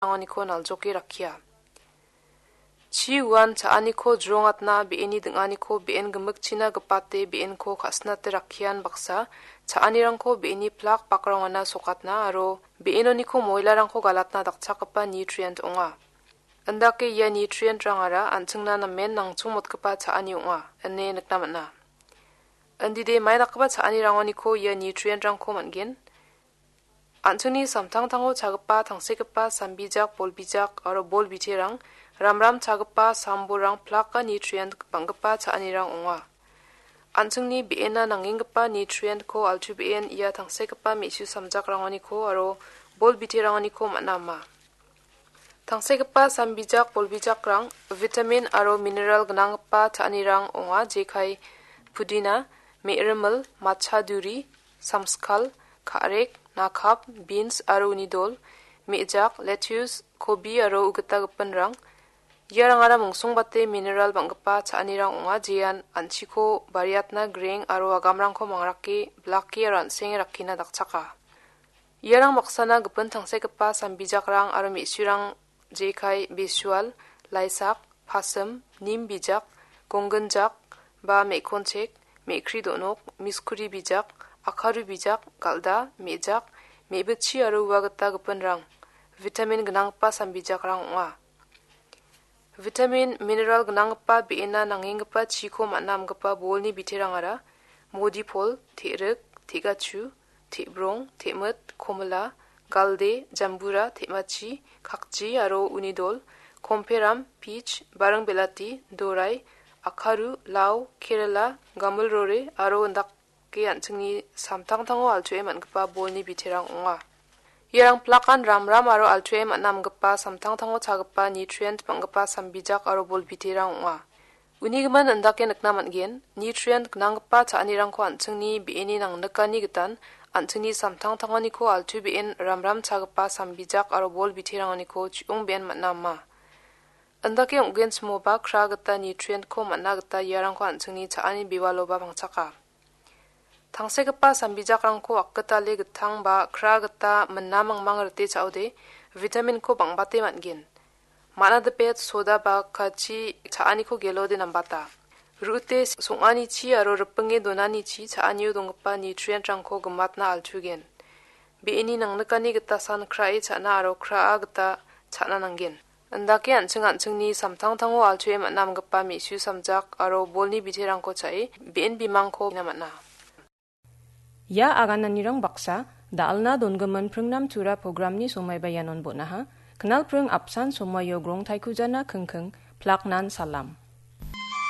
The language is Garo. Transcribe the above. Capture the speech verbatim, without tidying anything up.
rangoniko naljoke rakkia. Chi uan cha·aniko jrongatna be·eni ding·aniko be·en gimikchina gipate be·enko ka·sinate rakkian baksa, cha·anirangko be·eni plak bakrangona sokatna aro be·enoniko moilarangko galatna dakchakgipa nutrient ong·a. Indake ia nutrient-rangara an·chingna namen nangchongmotgipa cha·ani ong·a, ine nikna man·a. Indide mai dakgipa cha·anirangoniko ia nutrient-rangko man·gen. An·chingni samtangtango chagipa tangsekgipa sambijak, bolbijak aro bol biterang, ramram chagipa sambolrang plaka nutrient bang·gipa cha·anirang ong·a. An·chingni be·ena nangenggipa nutrient-ko altu be·en ia tangsekgipa me·su samjakrangoniko aro bol biterangoniko man·a ama. Tangsekgipa sambijak bolbijakrang vitamin aro mineral gnanggipa cha·anirang ong·a, jekai pudina, me·rimil, matcha duri, samskal, ka·rek, nakap, beans aro uni dol, me·jak, lettuce, kobi aro ugita gipinrang. Iarangara mongsingbate mineral bang·gipa cha·anirang ong·a, jean an·chiko bariatna greng aro agamrangko mangrake, blake aro an·senge rakkina dakchaka. Iarang baksana gipin tangsekgipa sambijakrang aro me·surang jekai besual, laisak, pasim, nim bijak, gongginjak, ba me·konchek, me·kri do·nok, miskuri bijak, akaru bijak, galda, me·jak, me·bitchi aro ua gita gipinrang vitamin gnanggipa sambijakrang ong·a. Vitamin, mineral gnanggipa be·ena nangenggipa chiko man·a amgipa bolni biterangara modipol, te·rik, te·gachu, te·brong, te·mit, komila, galde, jambura, te·machi, kakji aro uni dol, komperam, pich, baring belati, dorai, akaru, lau, kerela, gamilrore aro indake an·chingni samtangtango altuae man·gipa bolni biterang ong·a. Iarang plakan ramram aro altuae man·a amgipa samtangtango chagipa nutrient bang·gipa sambijak aro bol biterang ong·a. Uni gimin indake nikna man·gen, nutrient gnanggipa cha·anirangko an·chingni be·eni nangnikani gitan, an·chingni samtangtanganiko altu be·en ramram chagipa sambijak aro bol biteranganiko chi·ong be·en man·a ama. Indake ong·genchimoba kra gita nutrient-ko man·a gita iarangko an·chingni cha·ani bewaloba pangchaka. Tangsekgipa sambijakrangko akgitale gitang ba kra gita mina mangmang rite cha·ode vitamin-ko bang·bate man·gen. Manadipet soda ba kachi cha·aniko gelode nambata. Ru·ute song·anichi aro ripinge donanichi cha·anio donggipa nutrient-rangko gimatna altugen. Be·eni nangnikani gita san krae cha·na aro kraa gita cha·na nanggen. Indake an·ching an·chingni samtangtango altuae man·a amgipa me·su samjak aro bolni biterangko cha·e be·en bimangko ina man·a. Ia agananirang baksa, da·alna dongimin pringnam tura programni somaiba ianon bon·aha. Knalpring apsan somaio grongtaikujana kingking, plaknan salam.